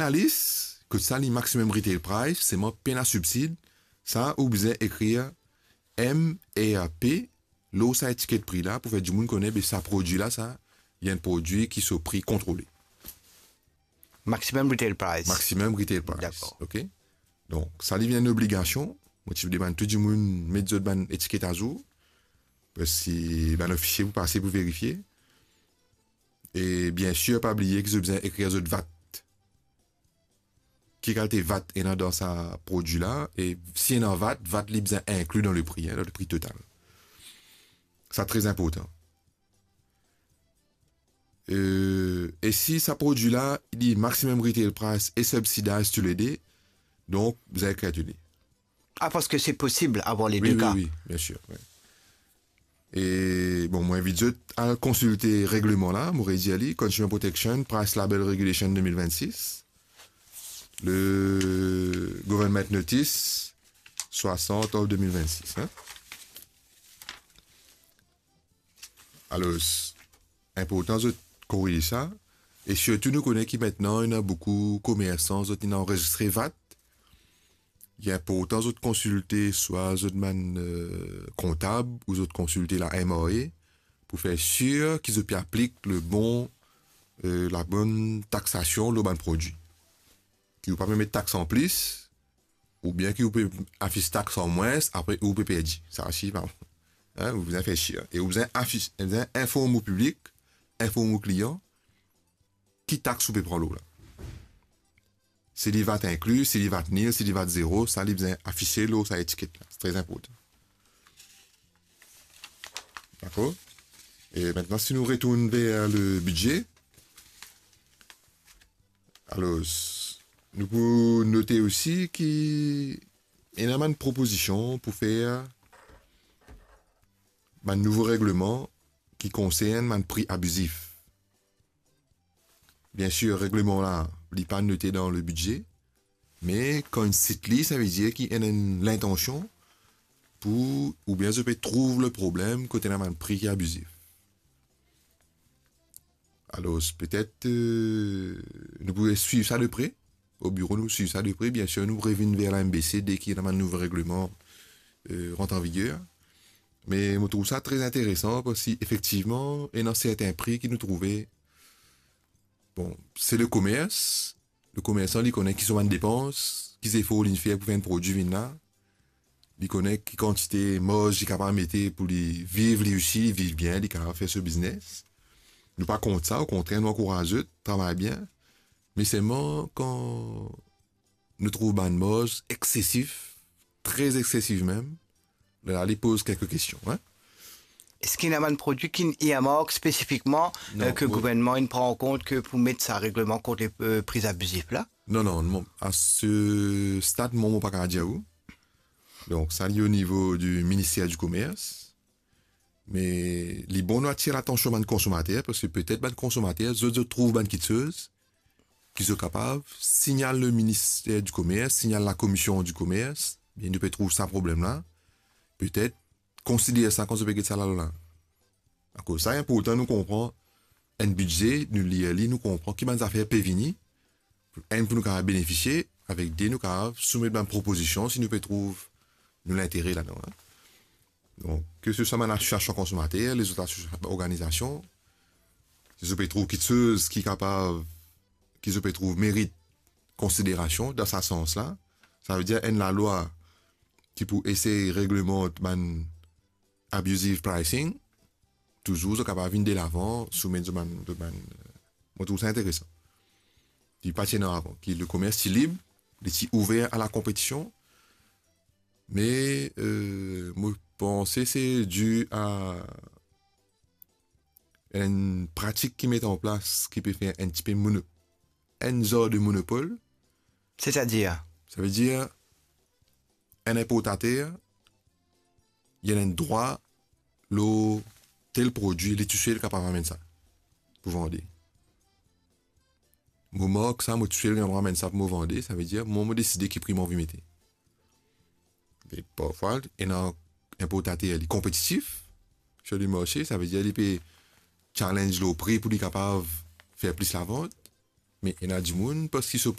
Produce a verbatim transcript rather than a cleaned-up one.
Lalis, kot sa li maximum retail price, selman pena sibsid, sa ou bizin ekrir M R P lor sa etiket pri la pou fer dimoun kone, be sa prodwi la, sa, li enn prodwi ki so pri kontrole. Maximum retail price. Maximum retail price. Dakor. Ok? Donk, sa li vinn enn obligasion. Mo ti demann tou dimoun met zot bann etiket azour. Parski bann ofisie pou pase pou verifie. E biensir, pa bliye ki zot bizin ekrir zot vat. Ki kalite vat ena dan sa prodwi la, e si ena vat, vat li bizin inkli dan le pri, hein, dan le pri total. Sa tre inportan. Euh, e si sa prodwi la, li maximum retail price e subsidized toulede, donk, bizin ekrir toulede. Ah, parski se posib avoir les deux cas. Wi, wi, wi, biensir, wi. E, bon, mo invit zot al konsilte regleman la, mo redir li, Consumer Protection, Price Label Regulation de mil vennsis, le Government Notice swasant of de mil vennsis, hein. Alor, inportan zot koriz sa, e sirtou nou kone ki aster ena boukou komersan, zot inn anrezistre vat. Li inportan zot konsilte swa zot bann, euh, kontab ou zot konsilte la M R A pou fer sir ki zot pe aplik le bon, euh, la bonn taksasion lor bann prodwi. Ki ou pa pe met tax anplis, oubien ki ou pe afis tax an mwins, apre ou pe perdi. Sa osi, pa, hein, ou bizin fer sir. E ou bizin afis, bizin inform ou piblik, inform ou klian, ki tax ou pe pran lor la. Si li vat inkli, si li vat nil, si li vat zero, sa li bizin afise lor sa etiket la. Se tre inportan. Dakor? E aster, si nou retourn ver le bidze, alor, nou pou note osi ki ena bann propozision pou fer bann nouvo regleman ki konsern bann pri abizif. Biensir, regleman la, li pa note dan le bidze, me kan inn sit li, savedir ki ena enn lintansion pou, oubien zot pe trouv le problem kot ena bann pri ki abizif. Alor, petet, euh, nou pou swiv sa de pre. O biro, nou swiv sa de pre. Biensir, nou revinn ver la M B C deki ena bann nouvo regleman, euh, rant an viger. Me mo trouv sa tre interesan parski efektivman, ena sertin pri ki nou trouve, bon, se le komers, le komersan, li kone ki so bann depans, ki zefor li fer pou fer enn prodwi vinn la. Li kone ki kantite marz li kapav mete pou li viv, li osi, li viv bien, li kapav fer so biznes. Nou pa kont sa, okontrer, nou ankouraz zot, travay bien. Me selman, kan nou trouv bann marz eksesif, tre eksesif mem, la, li poz kelke kestion, hein. Eski ena bann prodwi ki earmark spesifikman, Non, euh, ke mo- gouvernman inn pran an kont ke pou met sa regleman kont le, euh, pri abizif la? Non, non, non. A se stad, mo, mo pa kapav dir ou. Donk, sa, li o nivo di Minister di Komers. Me li bon nou atir latansion bann konsomater, parski petet bann konsomater, zot, zot trouv bann kiksoz ki zot kapav signal le Minister di Komers, signal Lakomision di Komers, bien, nou pe trouv sa problem la. Petet konsider sa kan zot pe get sa lalwa la. Akoz sa inportan nou konpran enn bidze, nou lir li, nou konpran ki bann zafer pe vini, enn, pou nou kapav benefisie, avek de, nou kapav soumet bann propozision si nou pe trouv nou lintere ladan, hein. Donk, ke se swa bann asosiasion konsomater, lezot asosiasion, organizasion, si zot pe trouv kiksoz ki kapav, ki zot pe trouv merit konsiderasion dan sa sans la, savedir enn lalwa ki pou esey reglemant bann abusive pricing, touzour zot kapav vinn delavan, soumet zot bann, zot bann, euh, mo trouv sa interesan. Ki pa ti ena avan, ki le komers ti lib, li ti ouver a la konpetision, me, euh, mo panse se di a enn pratik ki met an plas, ki pe fer enn tipe mono-, enn zar de monopol. Setadir? Savedir, enn inportater, li ena enn drwa lor tel prodwi, li tousel kapav amenn sa pou vande. Mo mark sa, mo tousel kapav amenn sa pou mo vande, savedir, mwa, mo deside ki pri mo anvi mete. Me parfwa, ena inportater, li konpetitif sir le marse, savedir, li pe challenge lor pri pou li kapav fer plis lavant. Me ena dimoun parski so